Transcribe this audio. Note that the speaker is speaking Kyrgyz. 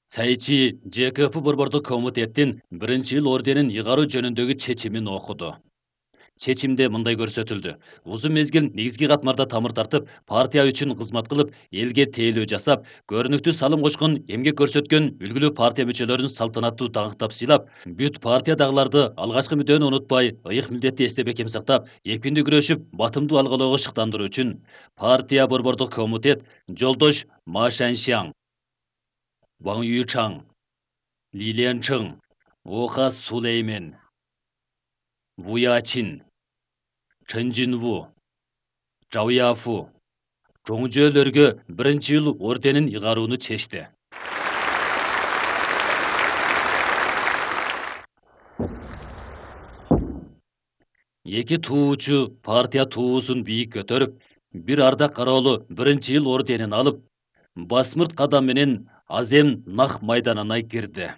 Сайчи ЖКП борбордук комитеттин 1-жыл орденин ыйгаруу жөнүндөгү чечимин окуду. Чечимде мындай көрсөтүлдү. Узун мезгил негизги катмарда тамыр тартып, партия үчүн кызмат кылып, элге тейлөө жасап, көрүнүктүү салым кочкон, эмгек көрсөткөн үлгүлүү партия мүчөлөрүн салтанаттуу даңктап сыйлап, бүт партиядагыларды алгачкы мүддөөнү унутпай, ыйык милдетти эстеп экем сактап, эркиндүү күрөшүп, батымдуу алгылоого шыктандыруу үчүн партия борбордук комитет жолдош Ма Шаншяң, Ваң Юйчаң, Ли Ленчың, Оха Сулеймен, Ву Ячин, Чын Жинву, Жао Яфу жоңжөөлөргө 1-жыл орденин ыйгарууну чечти. Эки туучу партия туусун бийик көтөрүп, бир ардак кароолу 1-жыл орденин алып, басмырт кадам менен Азем Нах майданына кирди.